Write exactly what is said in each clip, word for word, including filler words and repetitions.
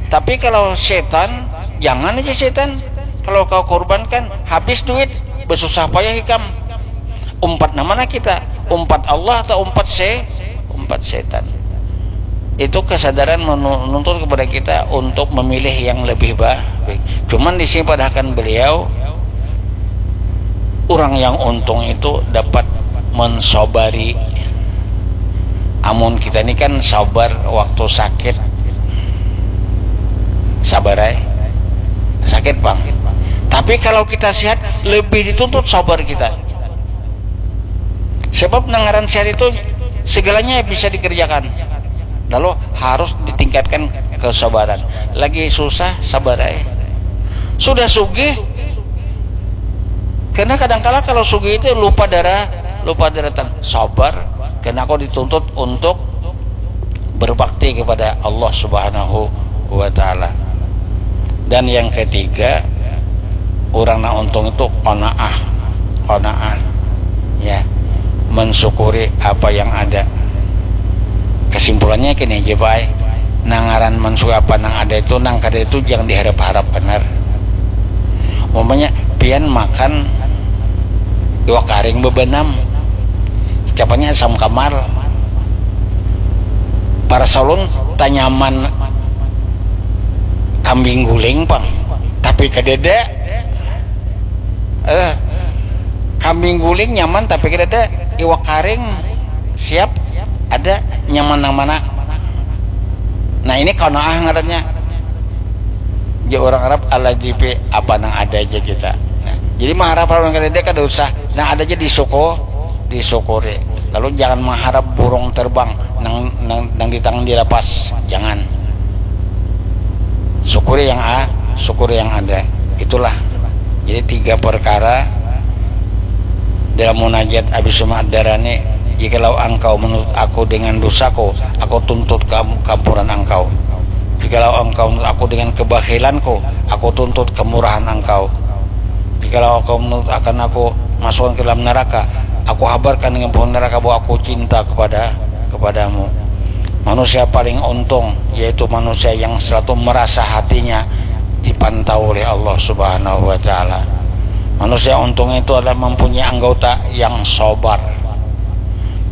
Tapi kalau setan, jangan aja setan. Kalau kau korbankan, habis duit, bersusah payah ikam. Umpat nama nah kita? Umpat Allah atau umpat se umpat setan? Itu kesadaran menuntut kepada kita untuk memilih yang lebih baik. Cuman di sini padahakan beliau, orang yang untung itu dapat mensobari. Amun kita ini kan sabar waktu sakit, sabar ay, sakit bang. Tapi kalau kita sehat, lebih dituntut sabar kita. Sebab nang ngaran sehat itu segalanya bisa dikerjakan. Lalu harus ditingkatkan kesabaran. Lagi susah, sabar ay. Sudah sugih, karena kadangkala kalau sugih itu lupa darah, lupa daratan. Sabar, karena kau dituntut untuk berbakti kepada Allah Subhanahu wa Ta'ala. Dan yang ketiga, orang nak untung itu qanaah, qanaah, ya, mensyukuri apa yang ada. Kesimpulannya kini aja, Pak, nang ngaran mensyukuri apa nang ada itu, nang kada itu jangan diharap-harap benar. Umpamanya pian makan iwak karing bebenam, ucapannya asam kamar, para salun tanyaman kambing guling pang, tapi kedede. Eh, kambing guling nyaman tapi kedede, iwak karing siap ada, nyaman nang mana? Nah, ini qanaah ngarannya. Ya, orang Arab ala jipi, apa nang ada aja kita. Nah, jadi mengharap orang kedede kada usah, nang ada aja disuku disyukuri. Lalu jangan mengharap burung terbang nang nang, nang di tangan dilepas, jangan. Syukuri yang a syukuri yang ada. Itulah. Jadi tiga perkara dalam munajat Abi Sumak Darani, jikalau engkau menuntut aku dengan dosaku, aku tuntut keampuran engkau. Jikalau engkau menuntut aku dengan kebahilanku, aku tuntut kemurahan engkau. Jikalau engkau menuntut akan aku masukkan ke dalam neraka, aku habarkan dengan penghuni neraka bahwa aku cinta kepada kepadamu. Manusia paling untung yaitu manusia yang selalu merasa hatinya dipantau oleh Allah Subhanahu wa Ta'ala. Manusia untung itu adalah mempunyai anggota yang sabar.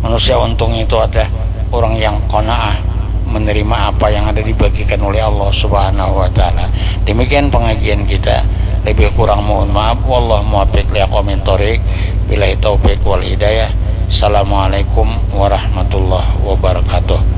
Manusia untung itu adalah orang yang qanaah, menerima apa yang ada dibagikan oleh Allah Subhanahu wa Ta'ala. Demikian pengajian kita. Lebih kurang mohon maaf. Wallahu muwaffiq li aqwamit thoriq. Billahi taufiq wal hidayah. Assalamualaikum warahmatullahi wabarakatuh.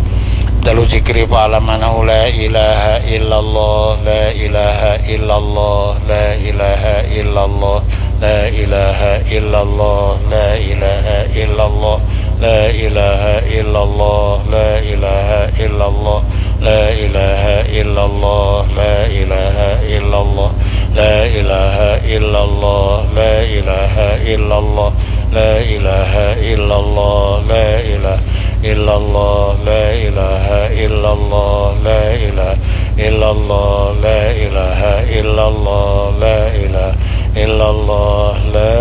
Dalu zikri fa'lam annahu la ilaha illallah, la ilaha illallah, la ilaha illallah, la ilaha illallah, la ilaha illallah, la ilaha illallah, la ilaha illallah, la ilaha illallah, la ilaha illallah, la ilaha illallah, la ilaha illallah, la ilaha illallah, la ilaha illallah, la ilaha illallah, la ilaha illallah, la ilaha illallah, la ilaha illallah, la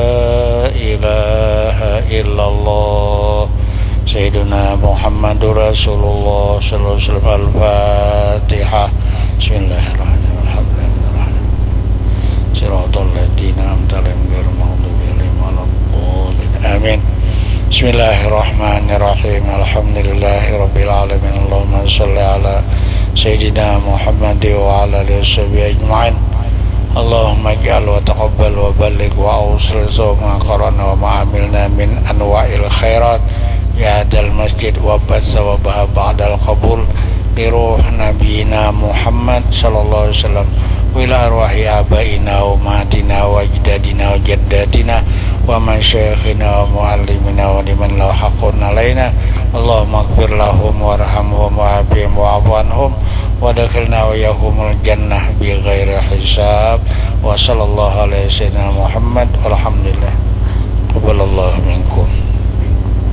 ilaha illallah. Sayyiduna Muhammadur Rasulullah sallallahu alaihi wasallam. Al-Fatihah. Bismillahirrahmanirrahim. Siratal ladzina an'amta alaihim ghairil maghdubi alaihim waladdallin. Amin. Bismillahirrahmanirrahim. Alhamdulillahirabbil alamin. Allahumma shalli ala sayyidina Muhammad wa ala alihi washabihi ajmain. Allahumma ij'al wa taqabbal wa balligh wa awsil ma qara'na wa ma amilna min anwa'il khairat fi hadzal masjid wa ba'da wa ba'dal qabul li ruh nabiyina Muhammad sallallahu alaihi wasallam wa ila arwahi abaina wa ummahatina wa ajdadina wa jaddatina wa masyaikhina wa muallimina wa liman lahu haqqun alaina. Allahumma ighfir lahum warhamhum wa afihim wa'fu anhum wa adkhilna wa iyyahumul jannah bi ghairi hisab. Wa sallallahu ala sayyidina Muhammad walhamdulillah. Taqabbalallahu minkum.